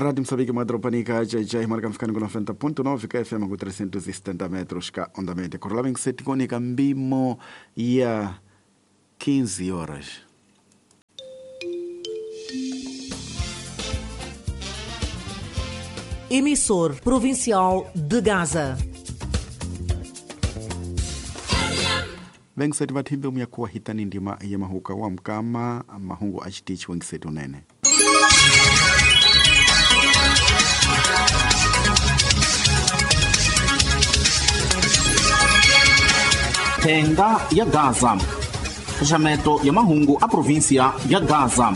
Rádio Moçambique Madropanica, JJ, marca ficando com 90.9 KFM com 370 metros ka onda média. Correla que sete cônica mbimo e a 15 horas. Emissor Provincial de Gaza. Vengiseti vathimbe muyakuwa hitani ndima ya mahuka wa mkama mahungu achitichi wengiseti unene. Thenga ya Gaza. Xaxameto ya mahungu a província ya Gaza.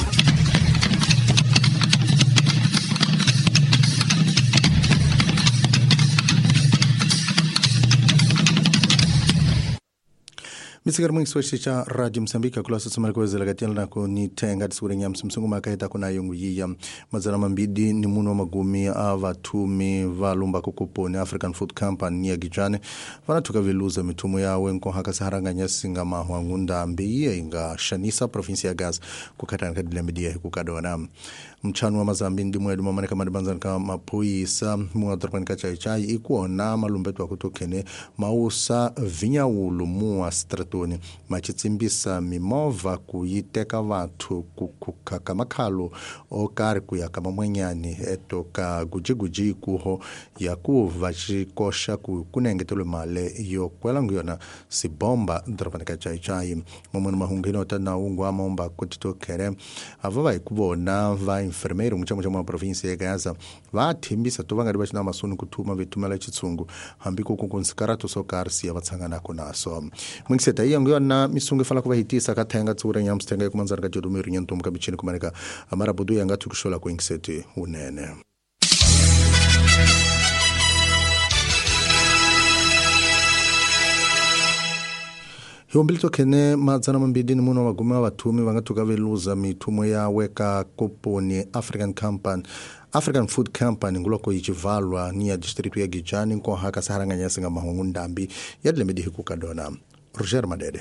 Misikari mwingi soshi cha Radio Msambiki kula sasa mariko katiana na kuni tenga tsure nyamsi msungu makaita kuna yungu yiya mazana mambidi ni muno magumi a vatumi valumba kukuponi African Food Company ya Gijane vanatuka viluza mitumo yawe nkohaka saharanganya singa mahwa ngunda mbiye inga shanisa provinsi ya Gaza kukatana kadile media kukadona mchano wa mazambi ndi mwedu mamaneka madibanzana ka maphoyisa muwa dorobani ka chai ikuona malumbeto akutokene mausa vinyawulu muwa stratoni machitsimbisa mimovha kuyiteka vathu kukhukha makhalo okari kuya ka mamwenyani eto ka gujiguji ikuho yakuva xikoxa ku kunengetelwe male yo kwela nguyona sibomba dorobani ka chai mamwena mahungu ota na ungu amomba kutitokhere ava va hi ku vona va enfermeiro muchamo cha província ya Gaza va thimbisa to va nga ri va xina masoni ku thuma vithumela xitshungu hambi ku kunkunsikarato swo karhi siya va tshanganako naso mwingiseta iya nguyona misungu ifana ku va hitisa ka thenga tsura nyamsi thenga ekumanzana ka jodumiru nyantumbu ka michini kumaneka amarabudu yanga thukuxola ku ingiseti unene. Hiombilito kene madzana mambili ni muno magume wa vathumi va nga thuka veluza mithumo yawe ka koponi African Company African Food Company nguloko yichivalwa ni ya district ya Gijani nkohaka saharanganya singa mahungu ndambi ya dilembe hikukadona. Roger Madede.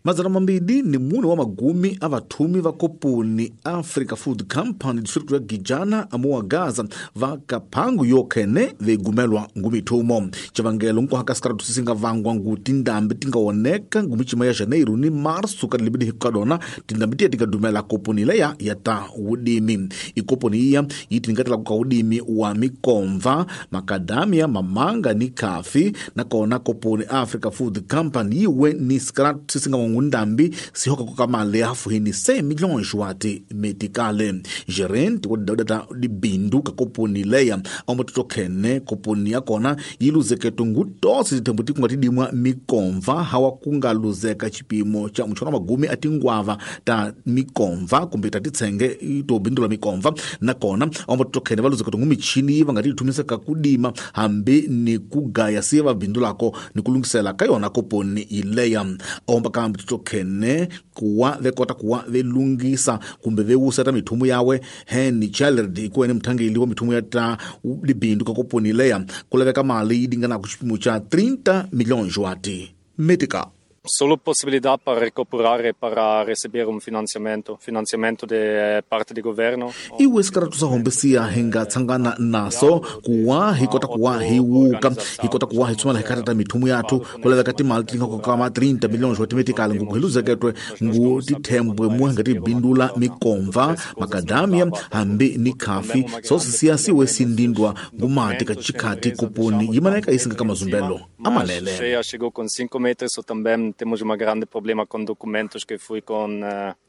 Madzana mambili ni mune wa magumi a vathumi va koponi Africa Food Company district ya Gijana amuwa Gaza va kaphangu yokhene veigumelwa ngumithumo civangelo nkohaka sikaratu sisinga vangwa ngu tindambi tingawoneka ngumichima ya janeiro ni marsu ka dilembedi hikukadona tindambi tiya tikadumela koponi leya ya ta wudimi ikoponi iya yi tingatela kuka wudimi wa mikomva makadamia mamanga ni kafi nakona koponi Africa Food Company yiwe ni sikaratu sisinga ngundambi sihoka kukamale hafuhini 6 milhões wati metikale gerente wa data libindu ka koponi leya amatotokhene koponi yakona yiluzeketo ngutosi tithembo tikunga tidimwa mikomva hawa kungaluzeka chipimo cha mutshwana magumi atingwava ta mikomva kumbe ta titsenge tobindula mikomva nakona amatotokhene valuzeketo ngumichini va nga tithumiseka kudima hambi ni kugaya siye vabindulako ni kulungisela ka yona koponi ileya omba kambe tokhene kuwa vekota kuwa velungisa kumbe vewuseta mithumu yawe Henry Challard ikuene mthangeli wa mithumu ya ta libindu ka koponi leya kulaveka mali yi dingana ku xipimo cha 30 milhões wati metika. Solo possibilidad para recuperar para receber un financiamento de parte do governo. Iwe sikaratu sa hombesiya hinga tsangana naso kuwa hikota kuwa hiwuka hikota kuwa hitsumala hikatata mithumu yathu kulaveka timali tinga kama 30 milhões wa timetikale nguku hiluzeketwe ngu tithembwe muwe nga tibindula mikomva makadamia hambi ni khafi sosisiya siwe sindindwa ngumati ka chikhati kuponi yimaneka isinga ka mazumbelo amalele. Cheia chegou com 5 metros ou também temos um grande problema com documentos que foi com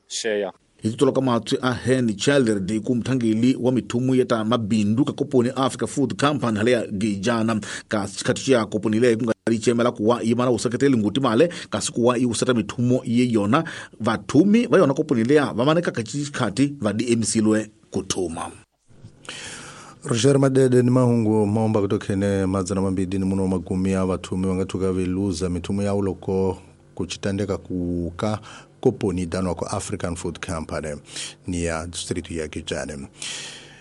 cheia. Hititolo ka matswi a Henry Challard ku mthangeli wa mithumu ya ta mabindu ka koponi Africa Food Company hale ya Gijana ka xikhati xa koponi leyi ku nga ri cemela kuwa yi mana wuseketeli nguti male kasi kuwa yi wuseta mithumo ye yona vathumi va yona koponi leya va maneka ka xikhati va diemsilwe ku thuma. Roger Madede ni mahungu maomba kutokhene madzana mambili ni muno magumi a vathumi va nga thuka veluza mithumo ya uloko kuchitandeka kuka koponi danwa ko African Food Company ni ya district ya Gijane.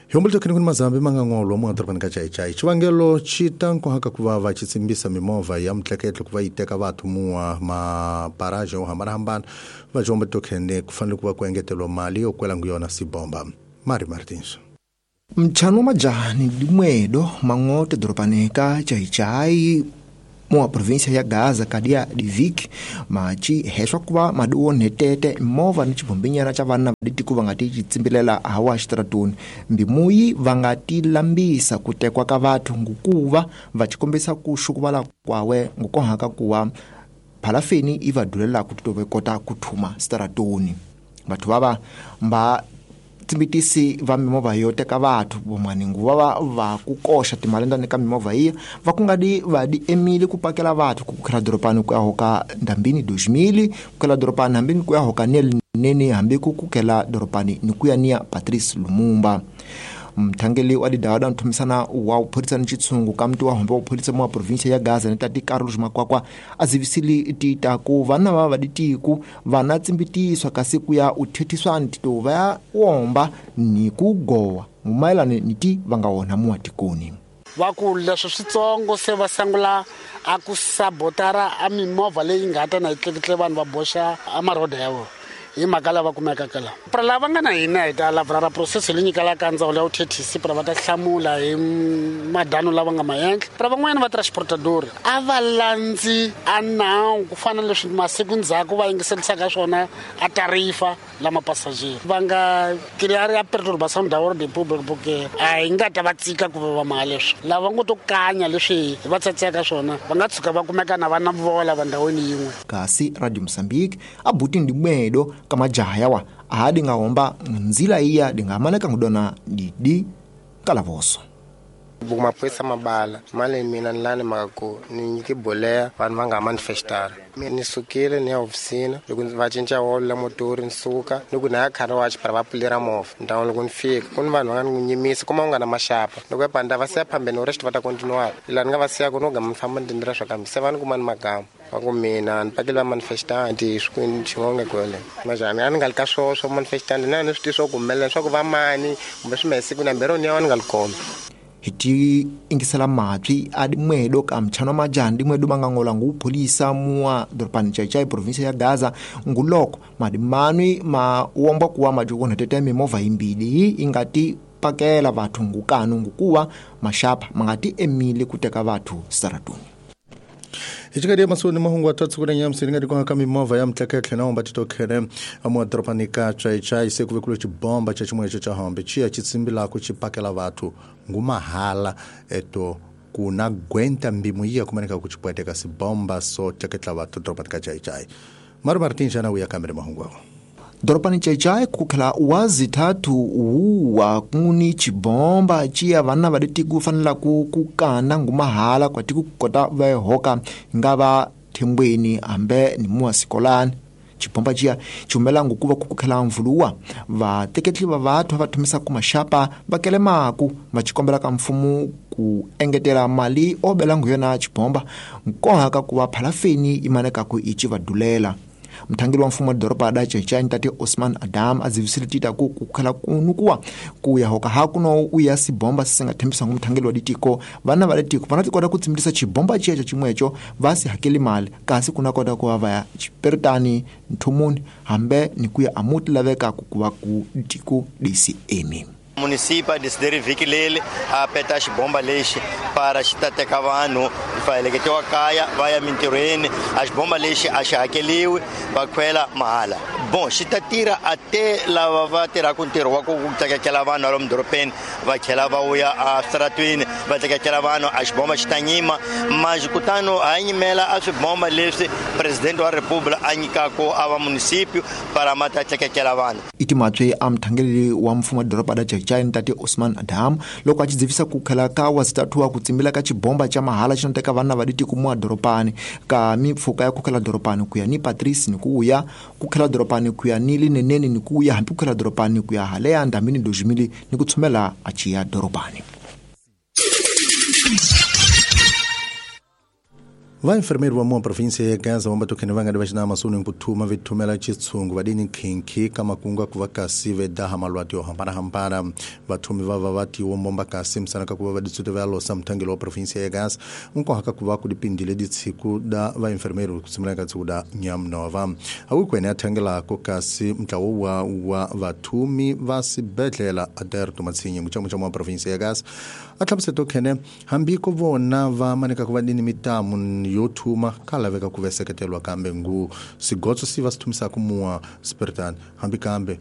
Hiombolito kene kuni mazambi mangang'olwa muadorobani ka chaichai xivangelo xi ta nkohaka ku va va xitsimbisa mimovha ya mtleketlo ku va yi teka vathu muwa maparaje yo hambanahambana va xiombolito kene ku fanele ku va ku engeteriwa mali yo kwela ngu yona sibomba. Mari Martins. Mtshano majani dimwedo mang'ote doropani ka Chaichai mua província ya Gaza kadia divik machi heswa kuva maduo netete movha ni chibombinyana cha vana vaditiku vangati chitsimbilela hawa xitaratuni mbimuyi vangati lambisa ku tekwa ka vathu ngukuva vachikombisa ku xukuvala kwawe ngukohaka kuwa phalafeni i va dulela ku titove kota ku thuma xitaratuni vathu vava mba tsimbitisi va mimovha yo teka vathu vomaningu va va ku koxa timalendani ka mimovha iya va ku nga di va di emile ku pakela vathu ku kukhela doropani ku ya hoka ndambini 2000 ku khela doropani hambini ku ya hoka nene hambi ku kukhela doropani ni ku ya niya Patrice Lumumba. Mthangeli wa didawada nthumisana wa upholisa ni chitsungu ka mti wa hombe wa upholisa mwa província ya Gaza ni tati Carlos Makwakwa a zivisili tita ku vana va vaditiku vana tsimbitiswa kasi ku ya uthethiswa ntito va ya womba ni ku gowa ngumayelana ni ti va nga wona muwa tikoni. Va ku leswi switsongo se va sangula a ku sabotara a mimovha leyi nga ta na yi tleketle vanhu va boxa a maroda ya vona hi mhaka lava kumekaka la. Pra lava nga na hina hi ta lavra ra process leyi nyikelaka ndzawulo ya vuthethisi pra va ta hlamula hi madano lava nga maendla. Pra van'wanyana va transportador a va landzi a nawu ku fana na leswi masiku ndzhaku va yingiserisaka swona a tarifa lama passager va nga clear ya perturbação da ordem pública porque a hi nga ta va tsika ku va mali leswi lava ngo to kanya leswi va tsatseka swona va nga tshuka va kumeka na vana vola va ndhawini yin'we. Kasi Radio Mozambique a buti ndimwedo kama jaha yawa ahadi nga homba nzila iya dingamaneka ngudona didi kalavoso. Mapurisa mabala mali mina ni lani mhaka ku ni nyike boleya vanhu va nga manifestara. Mina ni sukile ni ya hofisini loko va cinca wolo la motori ni suka ni ku na ya car wash para va pfulera movha ndhawu loko ni fika ku ni vanhu va nga ni nyimisa kuma u nga na maxapa loko ya panda va siya phambeni u rest va ta continue laha ni nga va siya ku no gama ni famba ni tindlela swa kambe se va ni kuma ni magama va ku mina ni pakele va manifestanti swikwini xin'wana kwele majani a ni nga li ka swoho swa manifestanti na ni swi tivi swa ku humelela swa ku va mani kumbe swi mehe siku nambero ni ya ni nga li kona. Hi ti ingisela mapyi a dimwedo ka mtshano majani dimwedo mangangola ngupholisa mua doropani Chaichai província ya Gaza nguloko madimanwi ma womba kuwa majukona tete mimovha imbili ingati pakela vathu ngukanu ngukuwa mashapa mangati emile kuteka vathu saratuni. Ichikadi masoni mahungu atatu kuna nyamsi ngati kwa kami mova ya mtleke na omba titokhere amwa dropanika Chaichai se kuvekulo chibomba cha chimwe cha hombe chia chitsimbila kuchipakela vathu ngumahala eto kuna gwenta mbimu iya kumaneka kuchipweteka sibomba so tleketla vathu dropanika Chaichai. Maru Martin jana uya kamere mahungu awo. Doropani Chaichai kukhela wazithathu uwa kuni chibomba chiya vana vaditi kufanela kukana ngumahala kwati kukota vahoka ngava thembweni hambe ni muwa sikolani. Chibomba chiya chumela ngukuva kukukhela mvuluwa vateketli va vathu va thumisa ku maxapa va kelemaku va chikombela ka mfumo ku engetela mali obela nguyona chibomba nkohaka kuva phalafeni imaneka ku ichi vadulela. Mthangeli wa mfumo wa doroba da Chaichai ntate Osman Adam azivisile tita ku kukhela kunukuwa ku ya hoka hakuno uya sibomba sisinga thembisa ngumthangeli wa ditiko vana va ditiko vana tikota ku tsimbisa chibomba checho chimwecho va si hakeli mali kasi kuna kota ku va ya chiperitani nthumuni hambe ni kuya amuti laveka ku kuva ku ditiko DCM. Município decidir vhiki leri a peta xibomba lexi para xi ta teka vanhu va heleketiwa kaya va ya mintirhweni a xibomba lexi a xi hakeliwi va khwela mahala bon xi ta tirha a te lava va tirhaka ntirho wa ku tleketlela vanhu lomu dorobeni va tlhela va vuya a switaratwini va tleketlela vanhu a xibomba xi ta nyima manjhe kutani ha nyimela a swibomba leswi presidente wa republika a nyikaka a va município para ma ta tleketlela vanhu. Itimatswe a mthangeli wa mfumo wa doroba da Chaichai ntate Osman Adam loko a chidzivisa ku khela ka wazitatu wa ku tsimbila ka chibomba cha mahala chinoteka vana va ditiko mua doropani ka mipfuka ya ku khela doropani ku ya ni Patrice ni ku ya ku khela doropani ku ya ni Linenene ni ku ya hambi ku khela doropani ku ya haleya ndamini 2000 ni ku tshumela a chiya doropani. Vainfermeiro va mua província ya Gaza vamba tokhene va nga di va xina masoni ku thuma vi thumela xitshungu va dini khinkhi ka makungu ku va kasi ve daha malwati yo hambanahambana. Vathumi va va va tiwo mbomba kasi misana ka ku va va ditsute va losa mthangelo wa província ya Gaza nkoha ka ku va ku dipindile ditshiku da vainfermeiro ku simula ka tsiku da nyamnova awikwene ya thangelako kasi ntlawo wa vathumi va sibedlela Aderto Matsinye muchamuchamu wa província ya Gaza a hlamusela tokhene hambi ko vona va maneka ku va dini mitamu yo thuma ka laveka ku veseketelwa kambe ngu sigotso si va swi thumisaka mua spiritani hambi kambe